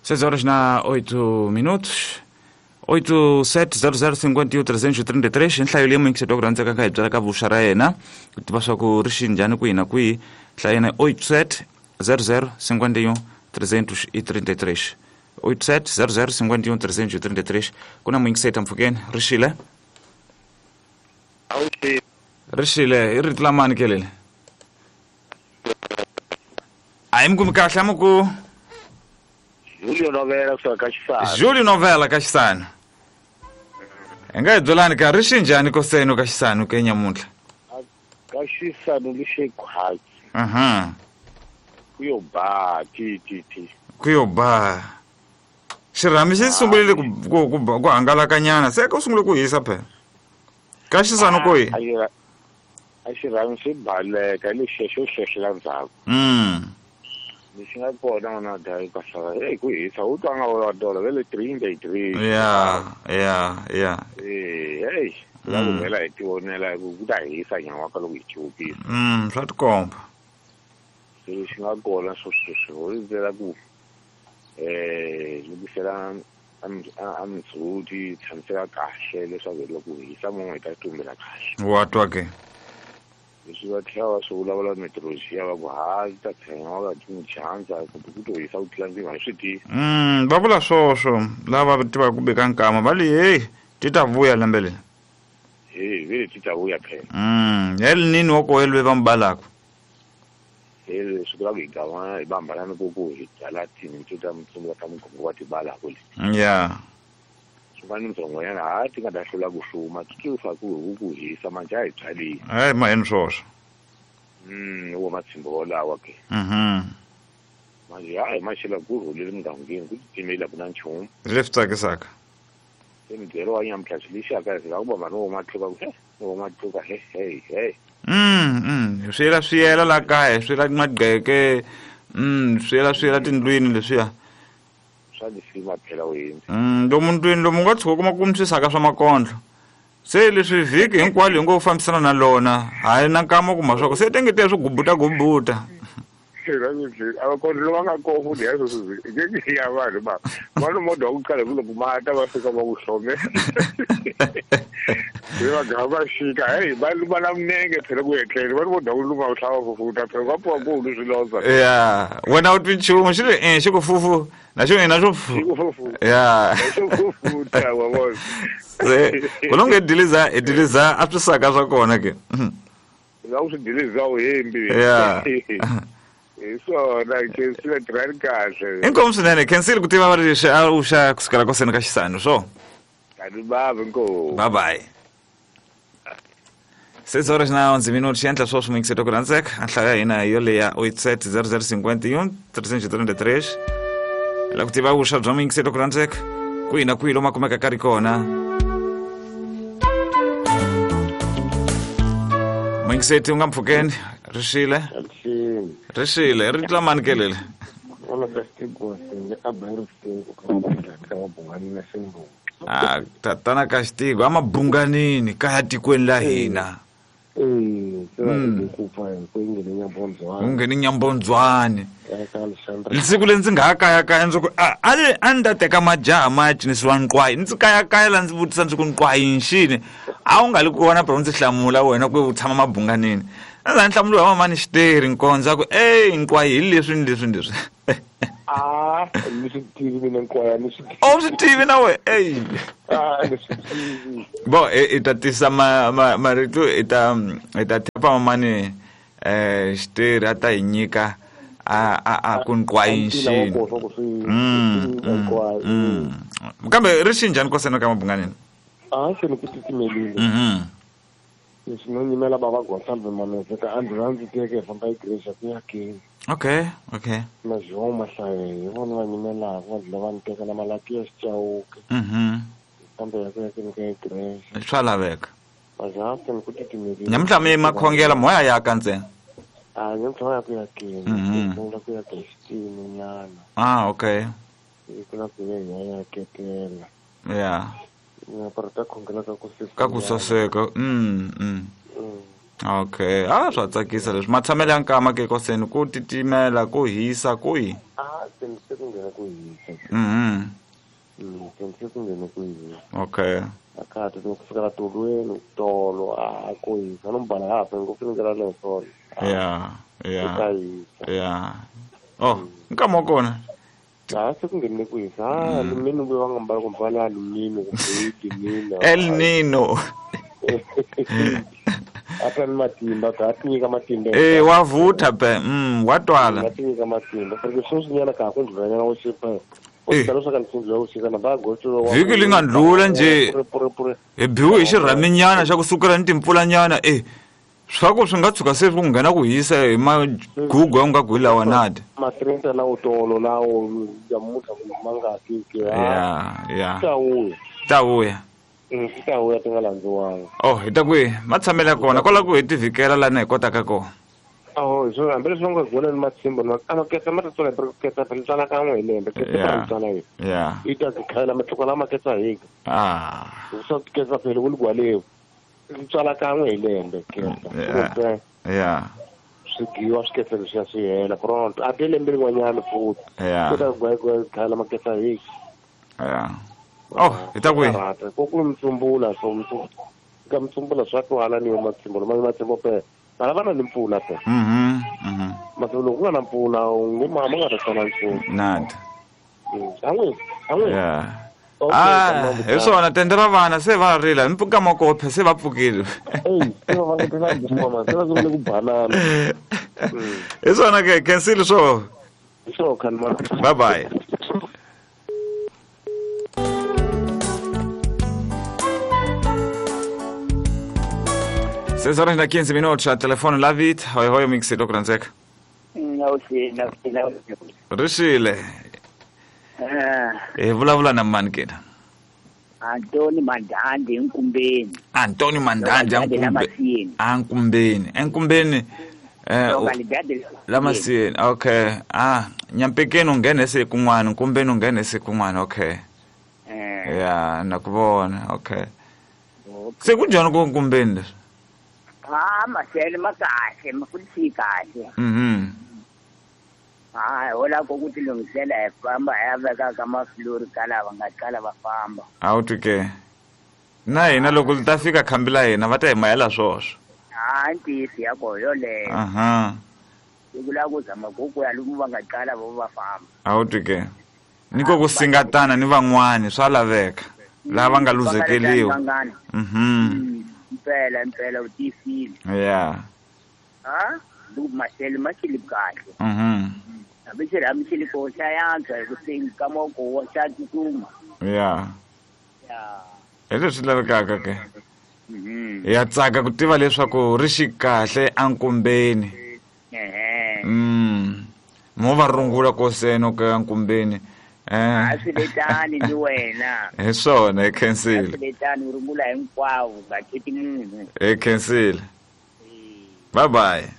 6 horas na 8 minutos. 870051 333 nhlayo leyi muyingiseti wa ku rhandzeka ka hi byala ka vuxa ra yena ku tiva swa ku ri xi njhani kwihi na kwihi. Nhlayo yena 870051 333, 870051 333. Ku na muyingiseti mpfhukeni. Ri xile? Ri xile. I rito la mani kelele? A hi mi kumi kahle. Amuku Julio Novela kusuka ka Xisana. Julio Novela ka Xisana. Hi nga hi byelani ka ri xi njhani koseno ka Xisanu ke nyamuntlha? Ka Xisano lixe khwatsi. Aha. Ku yo ba ti ti ti. Ku yo ba. Xirhami xi sungurile ku hangalakanyana, se ku sungule ku hisa phela. Ka Xisanu ku yi? A xirhami xi baleka lexiya xo hlehlela ndzhaku. Lexi nga kona n'wana dya ka hlava hey ku hisa u twa nga wa dola vele 33. Ya. Eh hey, la ku vhela hi tivonela ku ta hisa nyan'waka loko hi chupisa. Swa tikomba. Lexi nga kona swo sweswi ho rindzela ku lukisela a mindzhuti tshamiseka kahle leswaku loko hisa mun'we hi ta tumbela kahle. Wa twa ke? Leswi va tlhela va swi vulavula meteorology va ku ha ta tshama va ti chanza kumbe ku to hisa ku tlula ndzima hi swi tivi. Va vula swoswo lava tivaka ku beka nkama va li hey ti ta vuya lembe leri. Hey vele ti ta vuya phela. El nini wa ko elwe va mbalaka. Hey swi vula ku hi gama hi bambalana ku ku hi byala tinto ta mutsungu ta mugongo wa tibala ku le. Ya. Swin'wana ntsongonyana ha ti nga ta hlula ku hluma ti fa ku ku hisa manje a hi byaleni. Hayi maheni swoswo. Wo matshimbo wolawa ke. Manje hayi maxela ku rhulile mugangeni ku titimela ku na nchumu. Leswi tsakisaka. Se mibyelo wa nyamuntlha swi lexaka hi ku bamba no matluka ku no matluka he he he. Swi yela swi yela la kaya swi yela magqeke. Swi yela swi yela tindlwini leswiya. Swa lisima phela u hindza. Lomu ndlwini lomu nga tshuka kuma ku swisaka swa makondlo. Se leswi vhiki hinkwalo hi ngo fambisana na lona hayi na nkama kuma swa ku se tengete swi gubuta gubuta. Amakondlo va nga kona ku dya sweswi ngeke ya vanhu va vanhu modwa ku qala ku loko mata va fika va ku hlome. Se va gava va xika hey va luma na minenge phela ku etlele va modwa ku luma u hlava fufuta phela va pfuka ku lu swiloza. Ya wena u twi nchumu xi ri xi ku fufu na xo ina xo fufu. Ya. Xo fufuta wa vona. Se ku longe diliza e diliza a swi saka swa kona ke. La u swi diliza u hembi. Ya. Hi swona ke swi tirhani kahle. Inkomu swinene khensile ku tiva va ri leswi a u xa kusukela koseni ka Xisanu swo. Kani bava inkomu. Bye bye. 6 horas na 11 minutos xi endla swoswo muyingiseti wa ku rhandzeka. A nhlayo ya hina hi yoleya 870051 333. La ku tiva vuswa bya muyingiseti wa ku rhandzeka kwihi na kwihi lomu a kumeka ka ri kona. Muyingiseti u nga mpfhukeni ri xile. Ri xile ri tla mani kelele. A tatana ka Xitigo a mabunganini kaya tikweni la hina. U ngheni Nyambondzwani. Siku leri ndzi nga ha kayakaya ndzi ku a ni ta teka majaha ma ya cinisiwa nqwayi. Ndzi kayakaya la ndzi vutisa ndzi ku nqwayi nxini. A wu nga li kona phela u ndzi hlamula wena ku u tshama mabunganini. A ndzi hlamuriwa hi mamani Xiteri Nkondzo ku ey nqwayi hi leswi ni leswi ni leswi. A ni swi tivi mina nqwayi ni swi tivi. A wu swi tivi na wena ey. A ni swi tivi. Bo i ta tisa marito i ta thepa mamani Xiteri a ta hi nyika a ku nqwayi nxini. Kambe ri xi njhani kosena ka mabunganini? A se ni ku titimelile. Leswi no nyimela bava Gonsalve Manese ka ambulance teke hi famba hi Grace ku ya kini. Okay, okay. Na João Mahlaye hi vona va nyimelaka va dlula va ni teka na malapi ya Xicawuke. Kambe ya ku ya kini ka Grace. Swa laveka. Majaha se ni ku titimelile. Nyamuntlha mi makhongela moya ya ka ntsena. A nyamuntlha wa ya ku ya kini. Sungula ku ya ka xitini nyana. Ah, okay. Hi ku la ku ya hi ya ketela. Ya. Ya para ta khongela ka ku saseka. Ka ku saseka. Okay, a swa tsakisa leswi matshamelo ya nkama ke koseni ku titimela ku hisa ku yi a se ku nghena ku hisa. Se ku nghena ku hisa. Okay. Akati ku fikela tolweni tolo a ku hisa no mbala hape ngopfu ni ngela lesolo. Yeah, yeah. Yeah. Oh, nkama kona. A se ku nghene ku hisa. Alumini ku va nga mbala ku mbala alumini kumbe Nino. El Nino. Ata ni matimba ka tinyika matimba. Wa vutha pe. Wa twala. Wa tinyika matimba. Porque sweswinyana ka ku ndlulanyana wo xipa. Vhiki li nga ndlula nje hi biwe hi xirhaminyana xa ku sukela ni timpfulanyana swa ku swi nga tshuka se ku nghena ku hisa hi magugu ya nga gwi lawa nadi matrenta lawo tolo lawo ya mutlha ku ma nga tiki ya ta vuya ta vuya ti nga landziwanga. Oh, hi ta kwihi matshamelo ya kona kwala ku hi tivhikela lana hi kotaka kona. Oh, so hambi leswi va nga gona ni matshimbo a maketsa ma ta tswala hi ketsa phela tswala kan'we hi lembe ketsa phela tswala hi i ta khayela matluka lama ketsa hi swa ketsa phela ku ligwalewu tswala kan'we hi lembe ketsa swi giwa swi ketsa leswiya swi hela pronto a te lembe rin'wanyana futhi ku ta khayela maketsa hi oh hi ta kwihi ko ku mtsumbula so ka mtsumbula swa twala ni yo matshimbo lama matshimbo phela vana va na ni mpfula pe. Masiku loko ku nga na mpfula u ngo ma nga ta tswala nchumu. Nada. An'we. Yeah. Hi swona tende ra vana se va rila mpfuka makophe se va pfukile. Se va nga tela ngoma se va sungule ku banana. Hi swona ke cancel swo. Swo khanma. Bye bye. 6 horas e 15 minutos, a telefone lá vit, hoi hoi mixi do Kranzek. Não. Rishile. Vulavula na mani kena? Antoni Mandandi Nkumbeni. Antoni Mandandi Nkumbeni. Nkumbeni. Lamasiyeni. Okay. Nyampekeni unghene se kun'wana, Nkumbeni unghene se kun'wana, okay. Yeah, nakuvona, okay. Se kunjani ku Nkumbeni leswi? Masele makahle, mafuthi kahle. Hola kokuthi lungisela hi famba hi ya veka ka maflori ka lava nga qala va famba. A wu twi ke. Na hina loko li ta fika khambi la hina va ta hi mayela swoswo. Ntiyiso ya koho yoleyo. Siku la ku zama ku ya lomu va nga qala vo va famba. A wu twi ke. Ni ko ku singatana ni van'wani swa laveka. Lava nga luzekeliwa. Impela u tiyisile. Yeah. Loko maxelo ma xili kahle. Hambi xi ko xa yantswa hi ku ka moko xa tsutsuma. Yeah. Hi leswi lavekaka ke. Ya tsaka ku tiva leswaku ri xi kahle ankumbeni. Mo va rungula koseno ka ankumbeni. A swi letani ni wena. Hi swona hi khensile. A swi letani u rungula hinkwavo nga kheti munhu. Hi khensile. Bye bye.